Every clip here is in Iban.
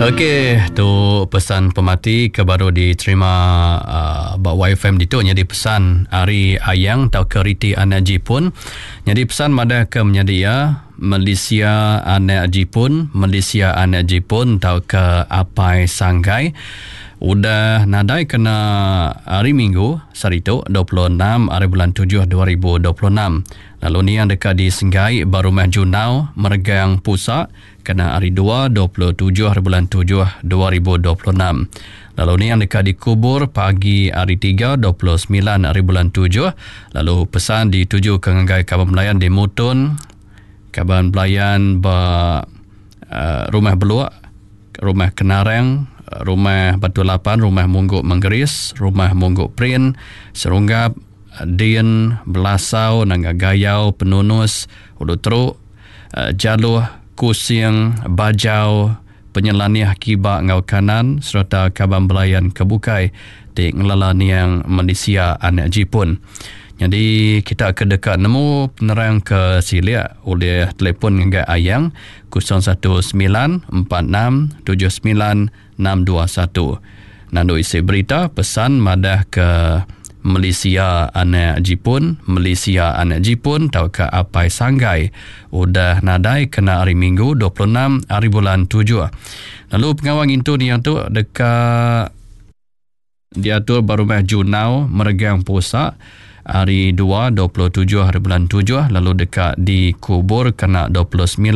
Okey, tu pesan pemati ke baru diterima uh, ba YFM ditu nyadi pesan ari Ayang tauka Riti Anak Jipun. Nyadi pesan madah ke menyadi iya Malaysia Anak Jipun, Malaysia Anak Jipun tauka Apai Sanggai udah nadai kena hari Minggu saritu 26 hari bulan 7 2026. Lalu niang deka disenggai ba Rumah Junau, Meregang Pusa kena hari Dua, 27 hari bulan tujuh 2026. Lalu niang deka dikubur pagi hari Tiga, 29 hari bulan tujuh. Lalu pesan ditujuka ngagai kaban belayan di Mutun, kaban belayan ba uh, Rumah Beluk, Rumah Kenarang, Rumah Batu Lapan, Rumah Munggu Menggeris, Rumah Munggu Prin, Serunggap, Din, Belasau, Nanga Gayau, Penunus, Ulu Teruk, Jaluh, Kusing, Bajau, Penyelanih kiba enggau kanan sereta kaban belayan ke bukai ti ngelala niang Malaysia anak Jipun. Nyadi kita ke deka nemu penerang ke silik ulih telefon ngagai Ayang 019 46 79 621. Nandu isi berita pesan madah ke Malaysia anak Jipun, Malaysia anak Jipun tauka Apai Sanggai udah nadai kena hari Minggu 26 hari bulan tujuh. Lalu pengawa ngintu niang tu deka diatur ba Rumah Junau Meregang Pusa hari Dua 27 hari bulan tujuh lalu deka dikubur kena 29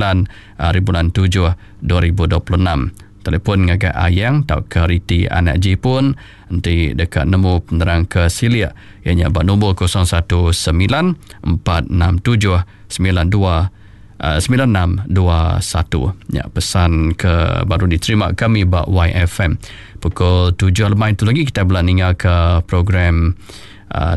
hari bulan tujuh 2026. Telefon ngagai Ayang tauka Riti anak Jipun enti deka nemu penerang ke silik iya nya ba nombor 019 467 92 9621. Nya pesan ke baru diterima kami ba YFM. Pukul 7 lemai tu lagi kita bela ninga ke program uh, ah,